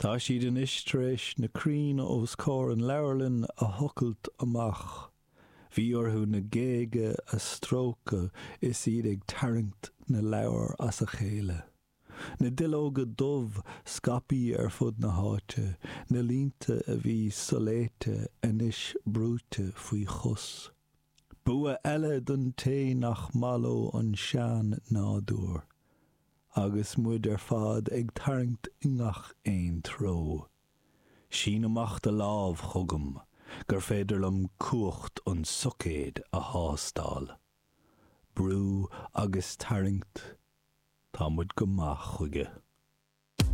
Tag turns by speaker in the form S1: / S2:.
S1: Tá siad anois tar éis na crainn os comhair an leabharlann a thochailt amach. Bhí orthu na géaga a stróiceadh is iad ag tarraingt na leabhar as a chéile. Na duilleoga dubh scaipthe ar fud na háite, na línte a bhí soléite anois brúite faoi chos. Bua eile don té nach maith leo an sean-nádúr. Agus muid ar fad ag tarraingt i ngach aon treo. Sín amach do lámh chugam gur féidir liom cumhacht an tsoicéid a thástáil. Brú agus tarraingt, tá muid go maith chuige.